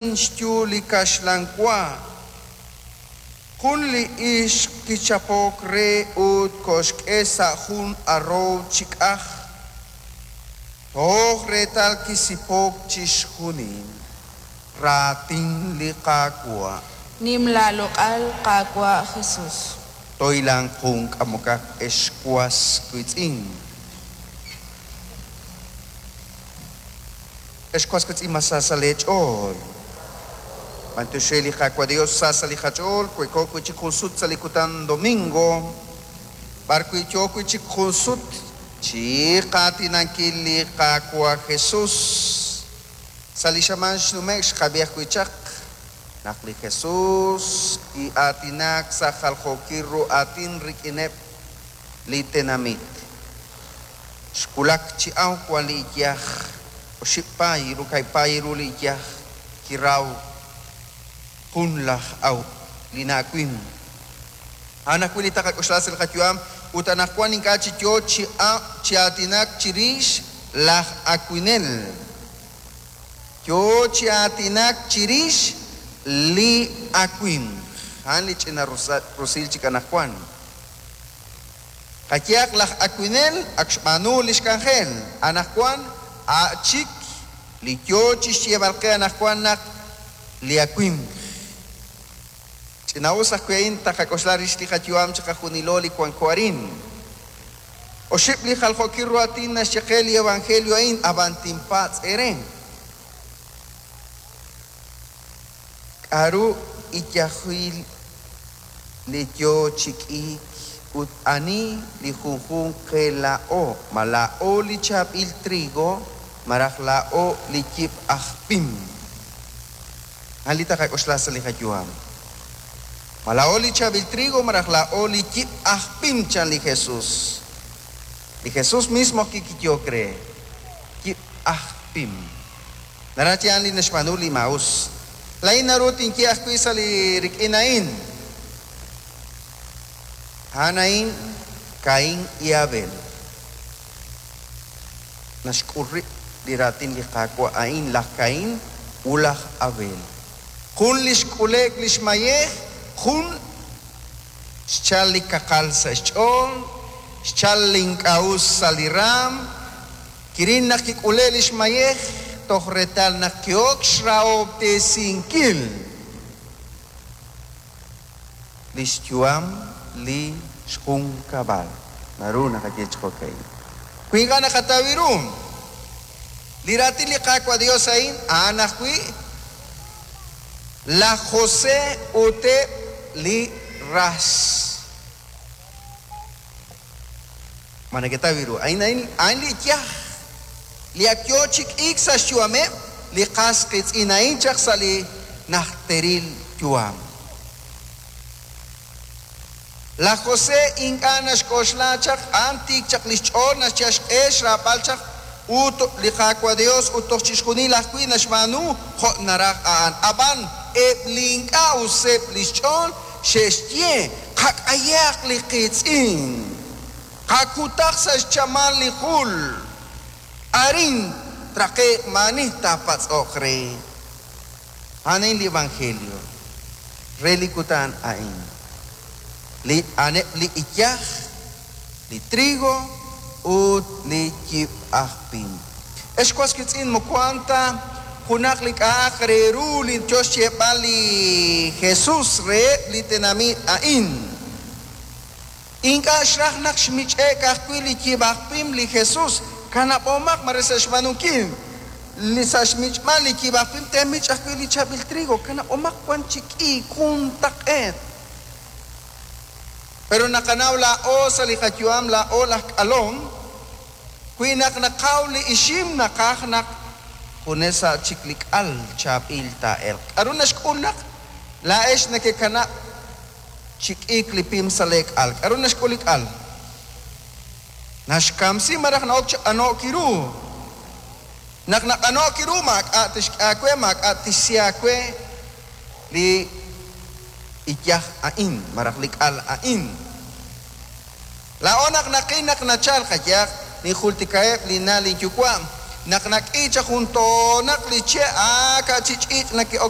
Xyu li kaxlan wa. Jun li ixq kichapok re ut koxk'e sa' jun arrow chi k'aj, toj reetal kisipok chixjunil. Raatin li Qaawa'. Nim laaloq'al, Qaawa' Jesus. Toilan jun k'amokaq ex was wiitz'in. Ex was wiitz'in, ma sa sa' leech'ool? B'antiox re li Qaawa' Dios sa sa' li qach'ool, we'ko wi' chik jun sut sa' li kutan domingo, b'ar wi' yoo wi' chik jun sut chi qaatinankil li Qaawa' Jesus. Sa' li xamaan xnume'k xqab'i ajwi' chaq naq li Jesus ki'aatinak sa' jaljookil ru aatin rik'ineb' li tenamit. Xwulak chi awk wan li iyaj, oxib' paay ru kaahib' paay ru li iyaj kiraw jun laj aw li na'awimk. A'an ajwi' li taqak'oxla sa' li qayu'am ut anaqwan ink'a' chi yoo chi chi aatinak chirix laj awinel. Yoo chi aatinak chirix li awimq. A'an li ch'ina rusil chik anaqwan. Qayehaq laj awinel ak xb'aanu lix k'anjel. Anaqwan a' chik li yoo chixyeeb'al qe anaqwan naq li awimq. Ch'ina'us ajwi' a'in taqak'oxla rix li qayu'am chiqajunilo li wanko arin. Oxib' li jaljookil ru aatin naxye qe li evangelio a'in, ab'an tinpatz' eere. K'a'ru iyajil li yoo chi k'iik ut ani li junjunq qe laa'o? Ma laa'o li chaab'il trigo malaj laa'o li yib' aj pim? A'an li taqak'oxla sa' li qayu'am. Ma laa'o li chaab'il trigo malaj laa'o li yib' aj pim, chan li Jesus. Li Jesus mismo ajwi' kiyehok re, Yib' aj pim. Naraj a'an li naxb'aanu li maa'us. Laa'in naru tinye ajwi' sa' li rik'in a'in. A'an a'in Caín y Abel. Naxk'ul rib' li raatin li Qaawa' a'in laj Caín ut laj Abel. Jun li xk'ule'k li xmayej, jun xchal li kaqal sa' xch'ool, xchal li ink'a' us sa' li raam, kiril naq kik'ule' li xmayej toj reetal naq ki'ok xrahob'tesinkil li xyu'am li xjunkab'al. Naru naqaye chi jo'ka'in. Wi ink'a' naqataw ru li raatin li Qaawa' Dios a'in, a'an ajwi' laj José ut eb' li ras. Ma neketaw ru? A'in a'in a'an li iyaj li ak yoo chi k'iik sa' xyu'ameb' li qas qiitz'in a'in chaq sa' li najteril yu'am. Laj José ink'a' naxk'oxla chaq, a'an tiik chaq li xch'ool, naxyal xq'e xraab'al chaq ut li Qaawa' Dios ut toj chixjunil ajwi' naxb'aanu jo' naraj a'an. Ab'an eb' li ink'a' useb' li xch'ool xe'xye, Qak'ayaq li qiitz'in, qakutaq sa' xchamal li jul, arin traqe'q maa'ani taapatz'oq re. A'an a'in li evangelio re li kutan a'in. Li a'aneb' li iyaj, li trigo ut li yib' aj pim. Ex was wiitz'in, moko a'an ta junaq li k'a'aq re ru li yo xyeeb'al li Jesus reheb' li tenamit a'in. Ink'a' xraj naq xmich'e'k ajwi' li yib' aj pim li Jesus. Kanab'omaq mare sa' xb'aanunkil li sa' xmich'b'al li yib' aj pim teemich' ajwi' li chaab'il trigo. Kanab'omaq wan chi k'iik juntaq'eet. Pero naqanaw laa'o sa' li qayu'am laa'o laj k'alom, wi naq naqaw li ixim naqaj naq junes sa' chik li k'al chaab'il taa'elq. K'a'ru naxk'ul naq laa'ex nekekanab' chi k'iik li pim sa' leek'al? K'a'ru naxk'ul li k'al? Naxkamsi malaj na'ok chi q'ano'k ru. Naq naq'ano'k ru maak'a' tixk'e aawe, maak'a' tixsi aawe li iyaj a'in malaj li k'al a'in. Laa'o naq naqil naq nachal qayehaq, ninjultikaheb' linna' linyuwa'. Naq nak'i chaq jun toonaq li che', aaka' chi ch'iich' nake'ok.